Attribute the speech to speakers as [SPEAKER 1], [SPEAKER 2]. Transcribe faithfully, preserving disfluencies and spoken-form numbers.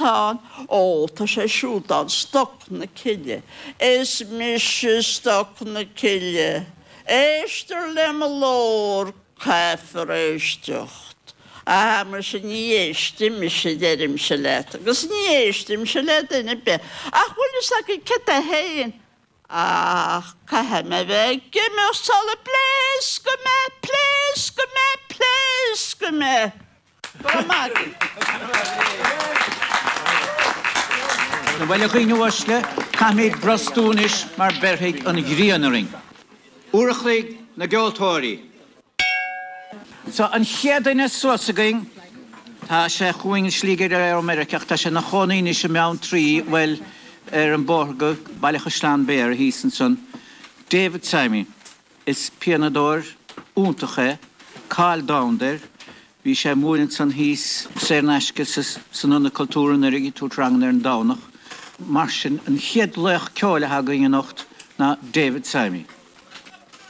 [SPEAKER 1] atá ann? Ó, tá sé siúd ann, Stoc na Cille. Is mise Stoc na Cille. Éistear le mo ghlór, caithfear éisteacht. Aha, muise ní éistfidh mise, deirimse leat, agus ní éistimse le duine ar bith. Ach bhfuil fhios agaibh céard é féin? Ach caithfidh mé bheith ag imeacht sula bpléascfaidh mé, pléascfaidh mé, pléascfaidh mé! Go raibh maith agaibh.
[SPEAKER 2] Bhuel, a dhaoine uaisle, caithfimid brostú anois mar beirfidh an ghrian orainn. Uair a chloig na gceoltóirí. So, an chéad duine suas againn, tá sé chugainn an slí go léir ó Meiriceá ach tá sé ina chónaí anois i mBeanntraí, bhuel, ar an bóthar go Baile Chaisleán Béara thíos ansan, David Simon. Is pianadóir iontach é, cáil domhanda air. Bhí sé ag múineadh ansan thíos saor in aisce san Ionad Cultúir anuraidh, ag tabhairt ranganna ar an Domhnach. Mar sin, an chéad laoch ceoil atá againn anocht ná David Simon.